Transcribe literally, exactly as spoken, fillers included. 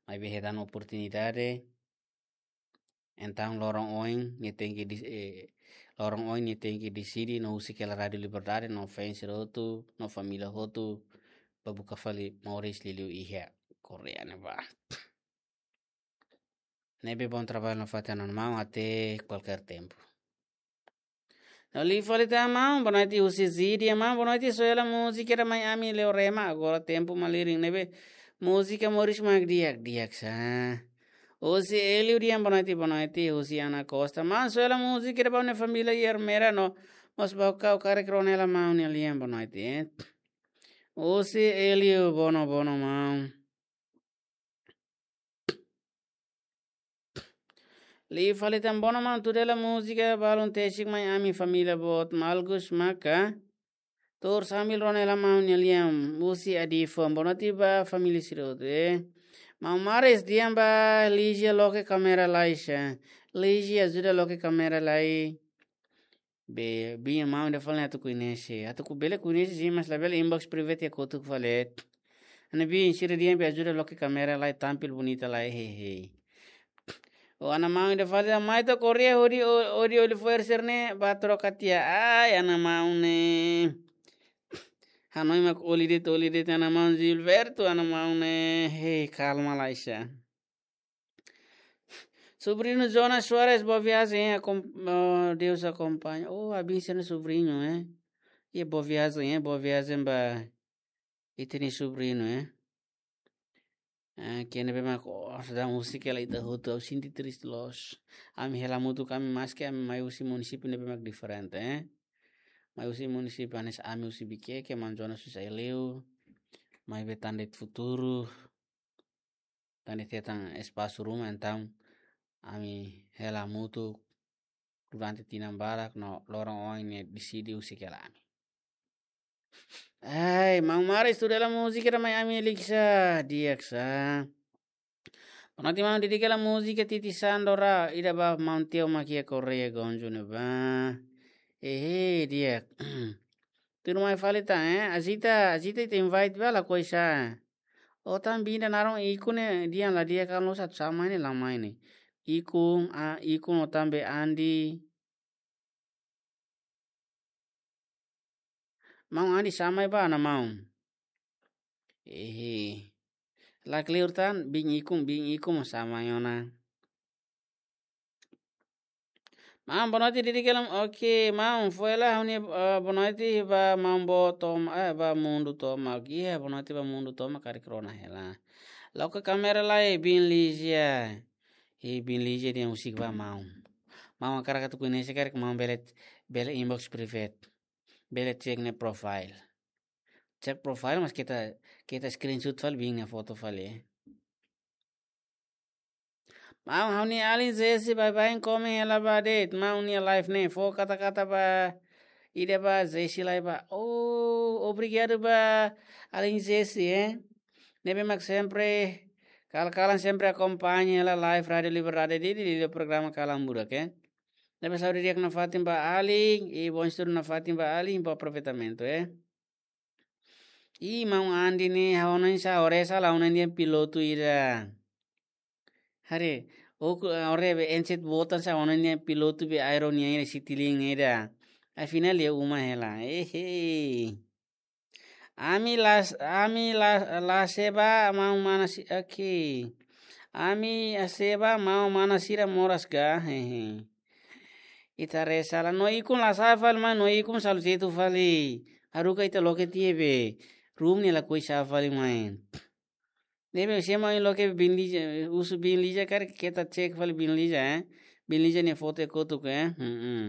Maibé hetan oportunidade. Entaun loron oin nia tenke dis-, eh, loron oin nia tenke deside no husik hela Rádiu Liberdade no fans hotu, no família hotu, ba buka fali moris liuliu iha Koreia ne'ebá. Ne'ebé bom trabalho nafatin ona maun até kualkér tempu. No liu fali tan maun, boa noite husi Zidi, maun, boa noite, só hela múzika ida mai ami Leo Rema, agora tempu malirin ne'ebé múzika moris mak di'ak, di'ak sa. Husi Elio dehan boa noite, boa noite, husi Ana Costa, maun, só hela múzika ida ba ha'u-nia família Ermera no, mós ba ha'u karik rona hela maun nia lian boa noite, eh. Husi Elio, bono, bono maun. Liu fali tan bono maun, tuda hela múzika balun tesik mai ami família boot malgus maka. Tuur sambil rona hela maun nia lian husi Adifo. Boa noite ba família sira hotu, eh. Maun Maris dehan ba Lígia loke kámera lai sa. Lígia ajuda loke kámera lai. Be, biin maun ida fali ne'e atu koñese. Atu ku bele koñese sin, mas labele inbox private iha kotuk fali. Ha'u-nia biin sira dehan be ajuda loke kámera lai tampil bonita lai, hehe. O Ana maun ida fali mai to'o Koreia hodi o-, hodi oli fo'er sira-ne'e ba troka tiha. Ai, Ana maun ne'e. Hanoin mak oli de'it, oli de'it Ana maun Gilberto, Ana maun ne'e. Hei, kalma lai sa. Sobrinho Jonas Soares, boa viagem, hein? Acom-, oh, Deus acompanha. Oh, abençoe sobrinho, hein? E boa viagem, hein? Boa viagem ba ita-nia sobrinho, hein? Ah, kene be mak, oh, sedang musik ya la ita hotu, ha'u sente triste loos. Ami hela hamutuk, ami maski ami mai husi munisípiu ne'ebé mak diferente, hein? Mai husi munisípiu hanesan ami husi Viqueque, maun Jonas husi Aileu. Maibé tan de'it futuru. Tan de'it hetan espasu ruma, entaun ami hela hamutuk durante tinan barak no loron oin nia deside husik hela ami. Ai, maun Maris tuda hela múzika ida mai ami Liksa, di'ak sa. Boa noite maun, dedika hela múzika Titi Sandora, ida ba maun Teo mak iha Koreia Gonju ne'ebá. Ehe, di'ak. Tuirmai fali tan, eh? Azita, Azita ita invite ba lakohi sa. O tan biin ida naran Ikun ne'e dehan la di'ak, kalau satu sama ini lama ini. Ikun, ah, Ikun o tan be Andi. Maun Andi sama ba Ana maun. Ehe. La kleur tan, biin Ikun, biin Ikun mós sama ona. Maun, boa noite, dedika hela, oke, maun, fó hela ha'u-nia, eh, boa noite ba maun boot tomak, eh, ba mundu tomak. Oke, iha, boa noite ba mundu tomak, karik rona hela. Loke kámera lai, biin Lígia. Ih, biin Lígia dehan husik ba maun. Maun hakarak atu koñese karik maun bele, bele inbox private. Bele cek nia profile. Cek profile, mas keta, keta screenshot fali biin nia foto fali, eh. Maun, ha'u-nia alin Jesse, baibain komen hela ba de'it. Maun nia live ne'e, fó kata-kata ba, ida ba Jesse lai ba. Oh, obrigadu ba alin Jesse, eh. Ne'ebé mak sempre, kal-kalan sempre akompaña hela live Rádiu Liberdade di, di, di programa Kalan Burak, eh. Ne'ebé saúde di'ak nafatin ba alin, i bom estudu nafatin ba alin, bom aproveitamento, eh. Ih, maun Andi ne'e, ha'u hanoin sa, ore sa la ona nian pilotu ida. Haree, oku, ore be enset botan sa ona nian pilotu be aero nian ida Citilink ida. Afinál iha uma hela. Ehe. Ami las, ami la, la seba maun mana si, oke. Ami la seba maun mana sira moras ka, hehe. Ita reza la no Ikun la sa'e fali mai no Ikun salu jetu fali. Haruka ita loke tiha be. Room ne'e lakohi sa'e fali mai. Ne'ebé sema i loke biin Lígia, husu biin Lígia karik keta cek fali biin Lígia, eh. Biin Lígia nia foto iha kotuk, eh. Hmm, hmm.